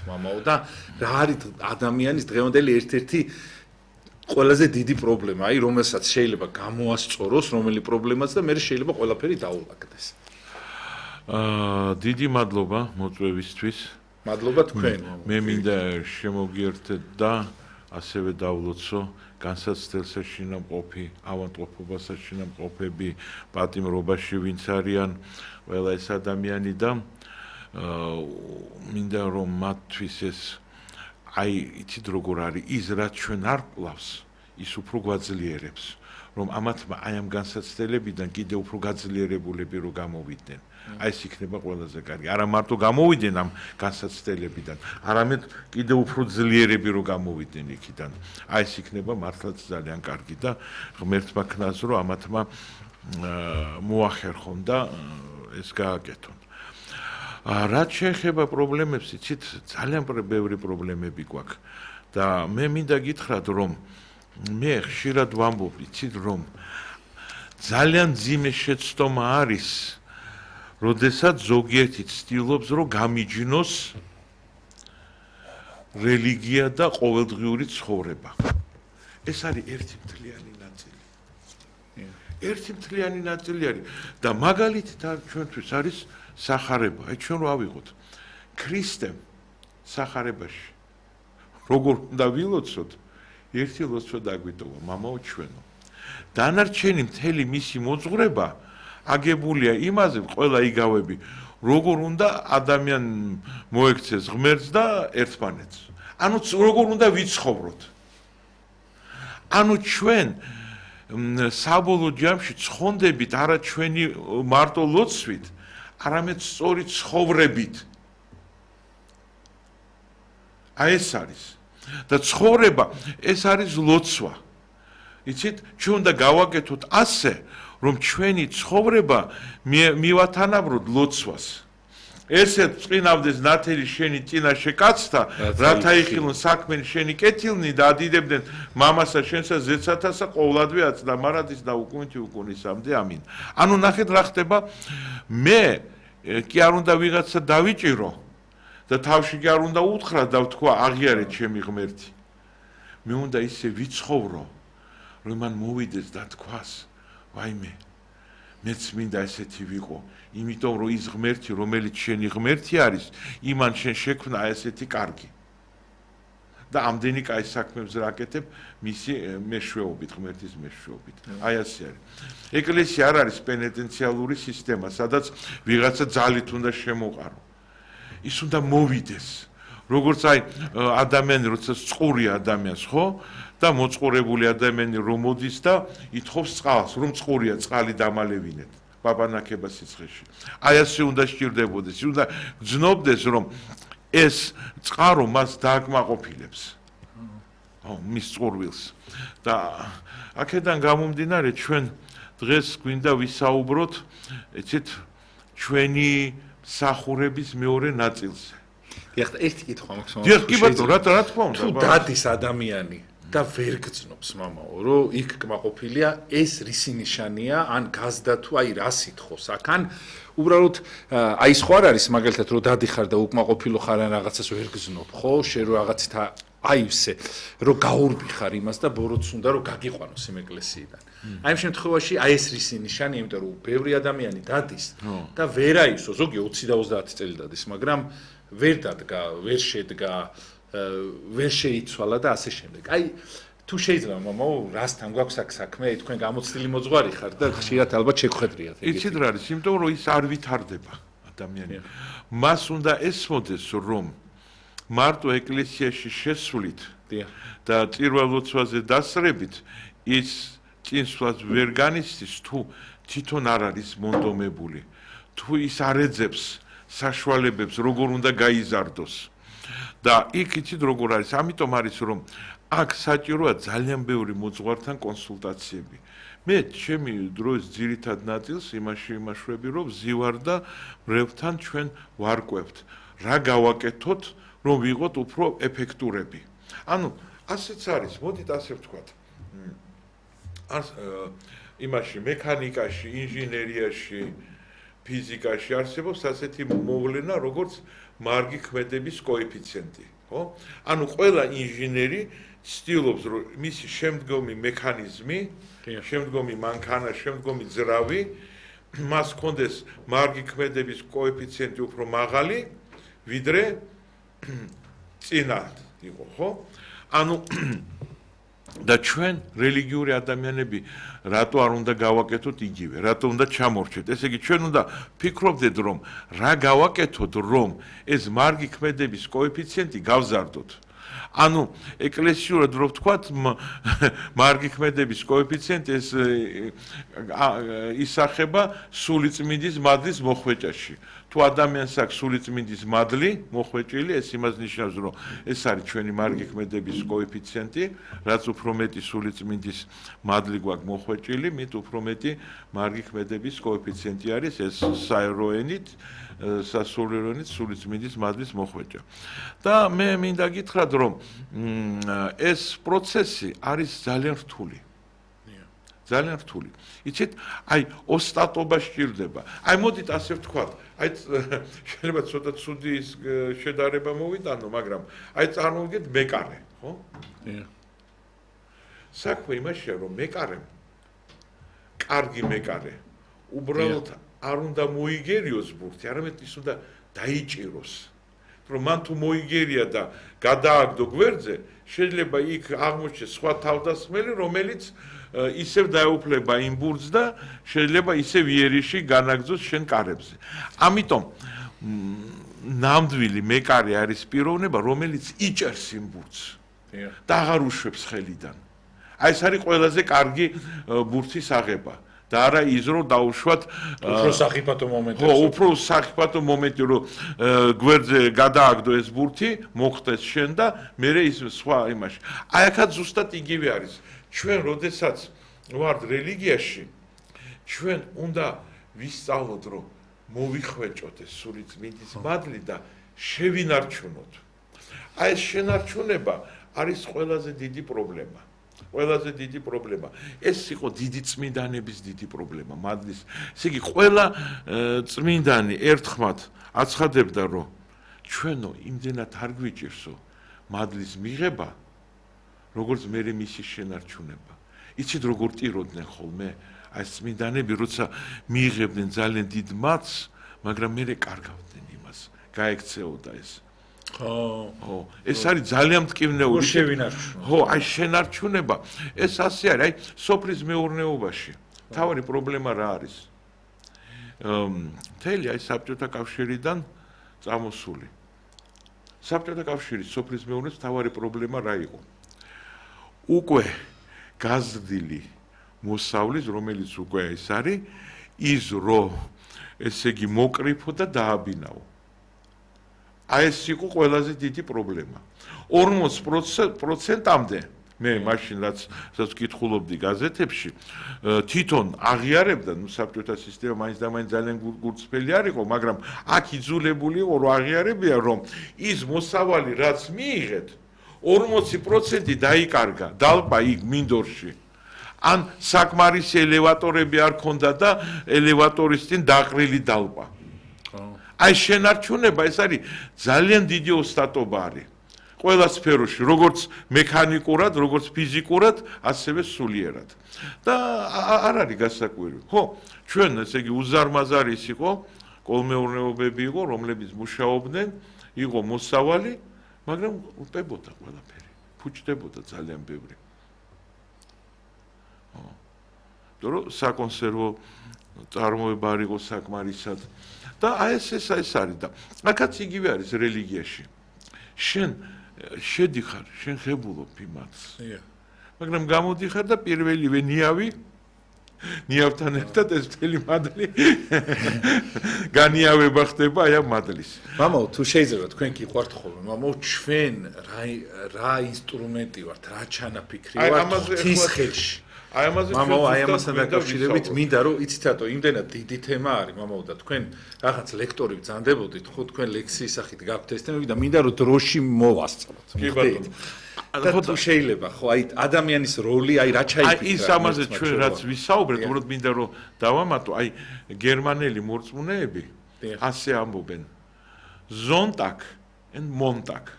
მამაო და რა არის ადამიანის დღევანდელი ერთ-ერთი ყველაზე დიდი პრობლემა, აი რომელსაც შეიძლება გამოასწოროს, რომელი პრობლემაც და მე შეიძლება ყველაფერი დაულაგდეს. დიდი მადლობა მოწვევისთვის. მადლობა თქვენ. მე მინდა შემოგიერთეთ და ასევე დავლოცო განსაცდელ საშინაყოფი, ავადმყოფობასა შინაყოფები, პატიმრობაში ვინც არიან ყველა ეს ადამიანი და მინდა რომ მათთვის ეს აი იცით როგორ არის ის რაც ჩვენ არ ყლავს ის უფრო გვაძლიერებს რომ ამათმა აი ამ განსაცდელებიდან კიდევ უფრო გაძლიერებულები რო გამოვიდნენ აი ეს იქნება ყველაზე კარგი არა მარტო გამოვიდნენ ამ განსაცდელებიდან არამედ კიდევ უფრო ძლიერები რო გამოვიდნენ იქიდან აი ეს იქნება მართლაც ძალიან კარგი და ღმერთმა ქნას რომ ამათმა მოახერხონ და ეს გააკეთონ რაც შეეხება პრობლემებს, იცით, ძალიან ბევრი პრობლემები გვაქვს და მე მინდა გითხრათ, რომ მე ხშირად ვამბობ, იცით, რომ ძალიან ძიმე შეცდომა არის, როდესაც ზოგიერთი ცდილობს, რომ გამიჯნოს რელიგია და ყოველდღიური ცხოვრება. ეს არის ერთი მთლიანი ნაწილი. ერთი მთლიანი ნაწილი არის და მაგალითად ჩვენთვის არის სახარება. აი ჩვენ რა ვიღოთ? ქრისტემ სახარებაში. როგორ უნდა ვილოცოთ? ერთი ლოცვა დაგვიტოვა, მამაო ჩვენო. დანარჩენი მთელი მისი მოძღვრება აგებულია იმაზე, ყველა იგავები, როგორ უნდა ადამიან მოექცეს ღმერთს და ერთმანეთს. ანუ როგორ უნდა ვიცხოვროთ. ანუ ჩვენ საბოლოო ჯამში ცხონდებით არა ჩვენი მარტო ლოცვით, არამედ სწორი ცხოვრებით. აი ეს არის. და ცხოვრება ეს არის ლოცვა. იცით, ჩვენ უნდა გავაკეთოთ ასე, რომ ჩვენი ცხოვრება მივათანაბროთ ლოცვას. ესეთ წინავდეს ნათელი შენი წინაშე კაცთა, რათა იხილონ საქმენი შენი კეთილნი და ადიდებდნენ მამასა შენსა ზეცათასა ყოვლადვე აცდა მარადის და უკუნითი უკუნისამდე ამინ. ანუ ნახეთ რა ხდება მე კი არ უნდა ვიღაცა დავიჭირო და თავში კი არ უნდა უთხრა და ვთქვა აღიარეთ ჩემი ღმერთი. მე უნდა ისე ვიცხოვრო, რომ მან მოვიდეს და თქვას, ვაიმე, მეც მინდა ესეთი ვიყო, იმიტომ რომ ის ღმერთი, რომელიც შენი ღმერთი არის, იმან შენ შექმნა ესეთი კარგი. და ამდენი კაი საქმებს რაკეთებ მისი მეშვეობით, ღმერთის მეშვეობით. აი ასე არის. ეკლესია არ არის პენიტენციალური სისტემა, სადაც ვიღაცა ძალით უნდა შემოყარო. ის უნდა მოვიდეს. როგორც აი ადამიანი, როცა წყური ადამიანს, ხო? და მოწყურებული ადამიანი რომ მოდის და ითხოვს წყალს, რომ წყურია, წყალი დამალევინეთ. ბაბანაკება სიცხეში. აი ასე უნდა სჭირდებოდეს. ის უნდა გძნობდეს, რომ ეს წყარო მას დააკმაყოფილებს. მის წყურვილს. და აქედან გამომდინარე ჩვენ დღეს გვინდა ვისაუბროთ, იცით, ჩვენი მსახურების მეორე ნაწილზე. დიახ, ერთი კითხვა მაქვს. დიახ, კი ბატონო, რა თქმა უნდა. თუ დადის ადამიანი და ვერ გძნობს მამაო, რომ იქ კმაყოფილია, ეს რისი ნიშანია, ან გაზდა თუ აი რა სითხოს აქ, ან უბრალოდ აი სხვა არ არის მაგალითად რომ დადიხარ და უკმაყოფილო ხარ ან რაღაცას ვერ გძნობ, ხო? შენ რო რაღაცით აი ისე რომ გაურბიხარ იმას და ბოროტს უნდა რომ გაგიყვანოს იმ ეკლესიიდან. აი იმ შემთხვევაში აი ეს რისი ნიშანია, იმიტომ რომ ბევრი ადამიანი დადის და ვერ აისო, ზოგი 20 და 30 წელი დადის, მაგრამ ვერ დადგა, ვერ შედგა, ვერ შეიცვალა და ასე შემდეგ. აი თუ შეიძლება მამაო, რასთან გვაქვს აქ საქმე, თქვენ გამოცდილი მოძღვარი ხარ და ხშირად ალბათ შეგხვედრიათ. იცით რა არის, იმიტომ რომ ის არ ვითარდება ადამიანი. მას უნდა ესმოდეს, რომ მარტო ეკლესიაში შესვლით და წირვა-ლოცვაზე დასწრებით ის წინსვლას ვერ განიცდის, თუ თვითონ არ არის მონდომებული, თუ ის არ ეძებს საშუალებებს, როგორ უნდა გაიზარდოს. და იქ იცით როგორ არის, ამიტომ არის რომ აქ საჭიროა ძალიან ბევრი მოძღვართან კონსულტაციები. მე ჩემი დროის ძირითად ნაწილს იმაში იმაშვები, რომ ვზივარ და მრევლთან ჩვენ ვარკვევთ, რა გავაკეთოთ, რომ ვიყოთ უფრო ეფექტურები. ანუ ასეც არის, მოდით ასე ვთქვათ. იმაში მექანიკაში, ინჟინერიაში, ფიზიკაში არსებობს ასეთი მოვლენა, როგორც მარგი ქმედების კოეფიციენტი, ხო? ანუ ყველა ინჟინერი ცდილობს, რომ მისი შემდგომი მექანიზმი, შემდგომი მანქანა, შემდგომი ძრავი მას კონდეს მარგი ქმედების კოეფიციენტი უფრო მაღალი, ვიდრე წინა იყო, ხო? ანუ და ჩვენ რელიგიური ადამიანები რატო არ უნდა გავაკეთოთ იგივე, რატო უნდა ჩამორჩეთ? ესე იგი ჩვენ უნდა ფიქრობდეთ, რომ რა გავაკეთოთ, რომ ეს მარგი ქმედების კოეფიციენტი გავზარდოთ. ანუ ეკლესიურად რო ვთქვათ, მარგი ქმედების კოეფიციენტი ეს ისახება სულიწმინდის მადლის მოხვეჭაში. თუ ადამიანს აქვს სულიწმინდის მადლი მოხვეჭილი, ეს იმას ნიშნავს, რომ ეს არის ჩვენი მარგი ქმედების კოეფიციენტი, რაც უფრო მეტი სულიწმინდის მადლი გვაქვს მოხვეჭილი, მით უფრო მეტი მარგი ქმედების კოეფიციენტი არის ეს საეროენით, სასულიეროენით სულიწმინდის მადლის მოხვეჭა. და მე მინდა გითხრათ, რომ ეს პროცესი არის ძალიან რთული. ძალიან რთული. იცით, აი ოსტატობა სჭირდება. აი მოდით ასე ვთქვათ, აი შეიძლება ცოტა ცუდი შედარება მოვიტანო, მაგრამ აი წარმოვიდგეთ მეკარე, ხო? საქმე იმაშია, რომ მეკარემ კარგი მეკარე უბრალოდ არ უნდა მოიგერიოს ბურთი, არამედ ის უნდა დაიჭიროს. რომ მან თუ მოიგერია და გადააგდო გვერდზე, შეიძლება იქ აღმოჩნდეს სხვა თავდასხმელი, რომელიც ისევ დაეუფლება იმ ბურთს და შეიძლება ისევ იერიში განაგრძოს შენ კარებზე. ამიტომ ნამდვილი მეკარე არის პიროვნება, რომელიც იჭერს იმ ბურთს და აღარ უშვებს ხელიდან. აი ეს არის ყველაზე კარგი ბურთის აღება. და არა ის რომ დაუშვათ უფრო სახიფათო მომენტი. ხო, უფრო სახიფათო მომენტი რომ გვერდზე გადააგდო ეს ბურთი, მოხდეს შენ და მერე ის სხვა იმაში. აი აქაც ზუსტად იგივე არის. ჩვენ როდესაც ვართ რელიგიაში, ჩვენ უნდა ვისწავლოთ, რომ მოვიხვეჭოთ ეს სულიწმინდის მადლი და შევინარჩუნოთ. აი ეს შენარჩუნება არის ყველაზე დიდი პრობლემა. ყველაზე დიდი პრობლემა. ეს იყო დიდი წმინდანების დიდი პრობლემა, მადლის. ესე იგი, ყველა წმინდანი ერთხმად აცხადებდა, რომ ჩვენო იმდენად არ გვიჭირსო მადლის მიღება, როგორც მერე მისი შენარჩუნება. იცით, როგორ ტიროდნენ ხოლმე? აი წმინდანები, როცა მიიღებდნენ ძალიან დიდ მადლს, მაგრამ მერე კარგავდნენ იმას, გაექცეოდა ეს. ხო, ეს არის ძალიან მტკივნეული შევინარჩუნო. ხო, აი შენარჩუნება, ეს ასე არის, აი სოფლის მეურნეობაში. თავი პრობლემა რა არის? მთელი აი საბჭოთა კავშირიდან წამოსული. საბჭოთა კავშირის სოფლის მეურნეობის თავი პრობლემა რა იყო? უკვე გაზრდილი მოსავლის, რომელიც უკვე ეს არის, ის რომ ესე იგი მოკრიფო და დააბინაო. აი ეს იყო ყველაზე დიდი პრობლემა. 40%-მდე მე მაშინ რაც ვკითხულობდი გაზეთებში, თვითონ აღიარებდა, ნუ საბჭოთა სისტემა მაინც და მაინც ძალიან გულწრფელი არ იყო, მაგრამ აქ იძულებული იყო რომ აღიარებია, რომ ის მოსავალი რაც მიიღეთ, 40% დაიკარგა, დალპა იქ მინდორში. ან საკმარისი ელევატორები არ ქონდა და ელევატორის წინ დაყრილი დალპა. აი შენარჩუნება ეს არის ძალიან დიდი ოსტატობა არის. ყველა სფეროში, როგორც მექანიკურად, როგორც ფიზიკურად, ასევე სულიერად. და არ არის გასაკვირი. ხო, ჩვენ ესე იგი უზარმაზარი იყო, კოლმეურნეობები იყო, რომლებიც მუშაობდნენ, იყო მოსავალი, მაგრამ უპებოდა ყველაფერი. ფუჭდებოდა ძალიან ბევრი. რომ საკონსერვო წარმოება არ იყო საკმარისად. და აი ეს არის და აქაც იგივე არის რელიგიაში. შენ შედიხარ, შენ ხებულობ იმას. მაგრამ გამოდიხარ და პირველივე ნიავთან ერთად ეს მთელი მადლი განიავება ხდება აი ამ მადლის. მამაო, თუ შეიძლება თქვენ გიყვართ ხოლმე, მამაო, ჩვენ რა ინსტრუმენტი ვართ, რა ჩანაფიქრი ვართ ღვთის ხელში. აი ამაზე მამაო, აი ამასთან დაკავშირებით მინდა რომ იცით რატო იმდენად დიდი თემა არის მამაო და თქვენ რაღაც ლექტორი ბრძანდებოდით ხო თქვენ ლექსიის სახით გაქვთ ეს თემები და მინდა რომ დროში მოვასწროთ. კი ბატონო. ხო შეიძლება ხო აი ადამიანის როლი აი რა ჩაიფიქრა. აი ის ამაზე ჩვენ რაც ვისაუბრეთ, უბრალოდ მინდა რომ დავამატო, აი გერმანელი მორწმუნეები ასე ამბობენ, Sonntag and Montag.